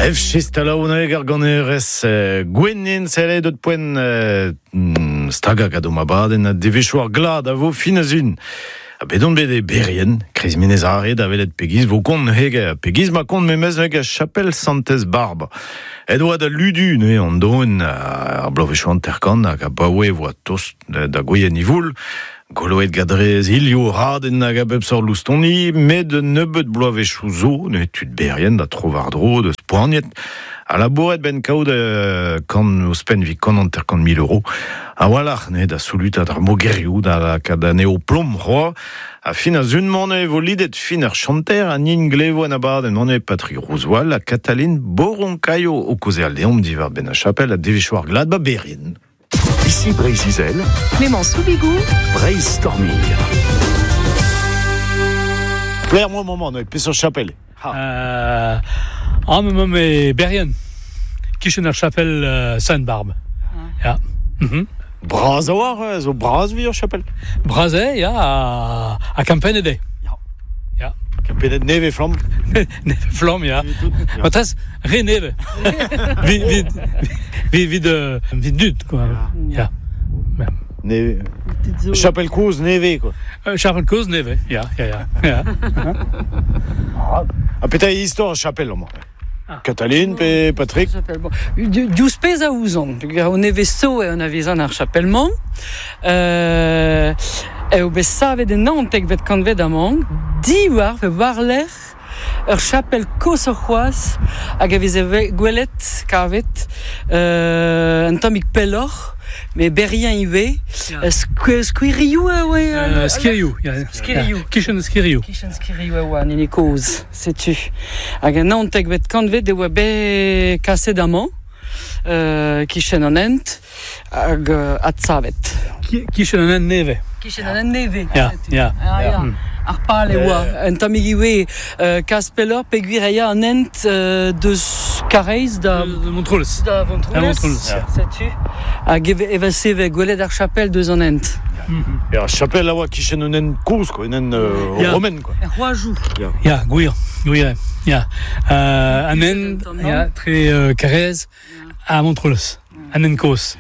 Ef chistalaouneg ar ganerez Gwennin sellet deut poent staga gant o mabadenn ha devezhioù ar glad a vo fin a zun. Ha bet on bet e Berrien, kreiz Menez Are, da welet pegiz vo kont neuze, pegiz ma kont memes neuze chapel Santez Barba. Et oa da ludu neuze an doen ar bloavezhioù hanter-kant hag abaoe e voa tost da gouien ivoul. Goloet gadrez hilio radenn hag a bep sort loustoni, met un nebeud bloavezhioù zo, neuze tud Berrien da tro-war-dro deus poaniet, ha labouret benn kaout kant ouzhpenn evit kant hanter-kant mil euro. A-walc'h neuze da solutat ar mogerioù, da lakaat anezho plom c'hoazh. Ha fin ar sun-mañ e vo lidet fin ar chanter ha nin glevo an abadenn eo Patrick Rousvoal ha Katalin Boronkaio o kaozeal deomp diwar-benn ar chapel ha devezhioù ar glad ba Berrien. Ici Breizh-Izel, Clémence Soubigou, Breizh Stormir. Plaire moi moment, neuze, peseurt chapel. Ha. Amañ emaomp e Berrien, kichen ar chapel Sainte-Barbe. Ya. Bras a-walc'h, zo bras evit ur chapel. Bras eo, ya, ha kempennet eo. Ya. Kempennet nevez flamm. Nevez flamm, ya. Matrez, re nevez. Evit evit dud, quoi. Ya. Nevez. Chapel kozh nevez, quoi. Chapel kozh nevez, ya, ya, ya. ya. Ha petra eo istor ar chapel amañ? Katalin pe Patrick? Chapel, bon. Diouzh pezh a ouzon, peogwir o nevez zo e anavezan ar chapel-mañ, eo bet savet en naontekvet kantved amañ, diwar pe war-lerc'h ur chapel koshoc'h c'hoazh hag a veze gwelet, kavet, un tammig pelloc'h, met Berrien ivez. Skouerioù e oa? Skirioù, ya. Skirioù. Kichen Skirioù. Kichen Skirioù e oa an hini kozh. Setu. Hag en naontekvet kantved e oa bet kaset amañ, kichen an hent, hag adsavet. Kichen an hent nevez. Kichen an hent nevez. Ya, ya. Ah, ya. Ar pal e oa un tammig ivez kas pelloc'h peogwir e ya an hent deus Karaez da Montroulez. Da Vontroulez. Setu. Hag evel-se e vez gwelet ar chapel deus an hent. Et ar chapel a oa kichen un hent kozh, quoi, un hent romen, quoi. Er c'hoajoù. Ya, gwir, gwir, ya. An hent, ya, tre Karaez ha Montroulez, an hent kozh.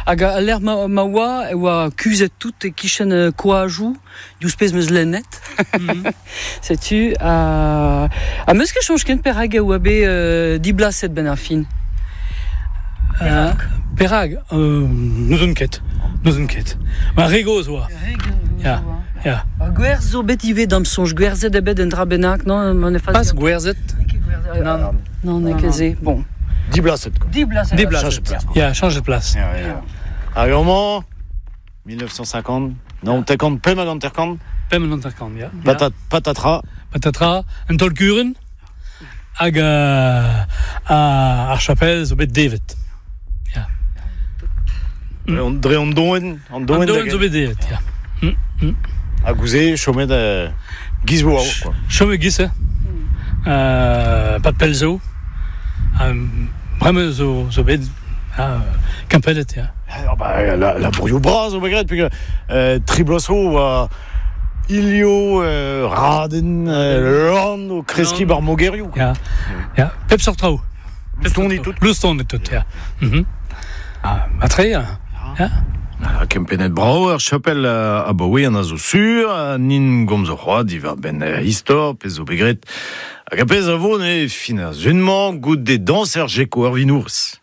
Hag al lec'h ma, ma oa, e oa kuzhet tout e-kichen koajoù, diouzh pezh 'm eus lennet. Setu, ha 'm eus ket soñj ken perak e oa bet diblaset 'benn ar fin. Perak? Perak? N'ouzon ket. N'ouzon ket. Ma re gozh oa. Ya, ya. Ur gwerz zo bet ivez d'am soñj. Gwerzhet eo bet un dra bennak, non? Ma ne Pas gwerzhet. Non, non, n'eo ket se. Bon. Diblaset, quoi. Diblaset. Diblaset. Ya, chañjet plas. Ya, ya. Hag amañ, 1950, non, tekant, pemp hag hanter-kant. Pemp hag hanter-kant, ya. Patat, patatra. Patatra, un taol-kurun. Hag ar chapel zo bet devet. Ya. Dre an doen, an doen. An doen zo bet devet, ya. Ha gouze, chomet giz vo quoi. Chomet giz, pas pell zo. Bremañ zo, zo bet kempennet, ya. Ah, bah, la, la broioù bras zo bet graet, peogwir tri bloaz zo oa Ilio, Raden, Lann o kreskiñ bar mogerioù. Ya, ya, pep sort traoù. Loustoni tout. Loustoni tout, ya. Ah, matre, ya. Ah, kempennet brav ar chapel abaoe an a zo sur, ha nin gomzo c'hoazh diwar-benn istor, pezh zo bet graet. Hag ar pezh a vo ne fin ar sun-mañ goude dañser Jeko ar Vinourez.